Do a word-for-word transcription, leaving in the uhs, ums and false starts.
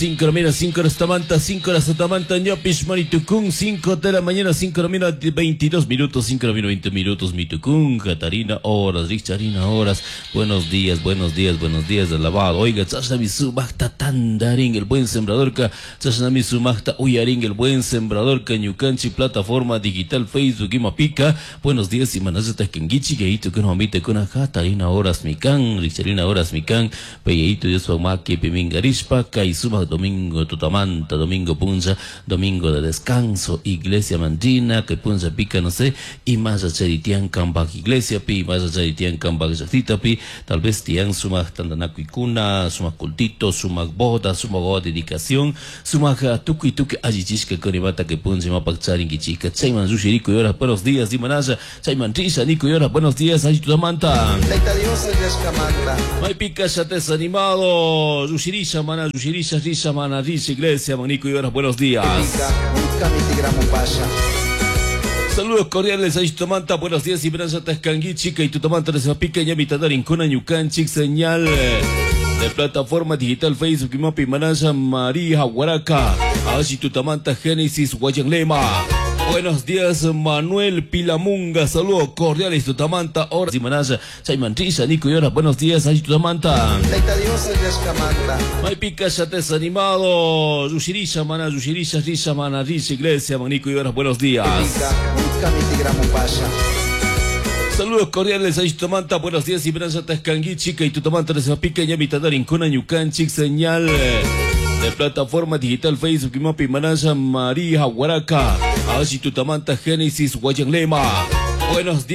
cinco de la mañana, cinco horas tamanta, cinco horas tamanta, ñopish maritucún, cinco de la mañana, cinco de la mañana, veintidós minutos, cinco de la mañana, veinte minutos, mitucún, Catarina, horas, Richarina, horas, buenos días, buenos días, buenos días, alabado, oiga, chashnami sumajta tandarín, el buen sembrador, ka, chashnami sumajta uyarín, el buen sembrador, ka, ñukanchi, plataforma digital, Facebook, imapica, buenos días, y manazata, kengichi, geito, kuna, mamita, kuna, Catarina, horas, mikan, Richarina, horas, mikan, peyeito, Dios, maki, pimingarishpa, kay sumaq domingo tutamanta, domingo puncha, domingo de descanso, iglesia mandina, que puncha pica, no sé, y más charitian kambak iglesia pi, más charitian kambak llaqtita pi, tal vez tian sumaq tantanakuykuna, sumaq cultito, sumaq boda, sumaq boda dedicación, sumaq tukuy tukuy allichishka kunimata que puncha imapak charinkichika, chayman rushiriku y buenos días, imanalla, chayman risha, niku y buenos días, alli tutamanta. Taita Dios llashkamanta. Maypika ya desanimado, rushirisha mana, rushirisha, risha mana, risha iglesia, manico y horas, buenos días. Pica, nunca mi tigramo pasha. Saludos cordiales a Tutamanta, buenos días, y Branza Tascangui, chica y Tutamanta, Pica, Ñamita, Kuna, Ñucanchic, señal de plataforma digital Facebook y Mapi Manaya María Huaraca, Ashi Tutamanta, Génesis, Guayanlema. Buenos días, Manuel Pilamunga. Saludos cordiales, Tutamanta. Horas y Manaya, Chayman Risha, Nico y horas. Buenos días, Ashi Tutamanta. Taita Dios llashkamanta. Maypika ya desanimado. Rushirisha, mana, rushirisha, risha, mana, risha, iglesia, manico y horas. Buenos días. Pica, nunca mi tigramo pasha. Saludos cordiales a Tutamanta, buenos días, y Branza Tascangui, chica y Tutamanta, Pica, Ñamita, Kuna, Ñucanchic, señal de plataforma digital Facebook y Mapi Manaya María Huaraca, Ashi Tutamanta, Génesis, Guayanlema. Buenos días.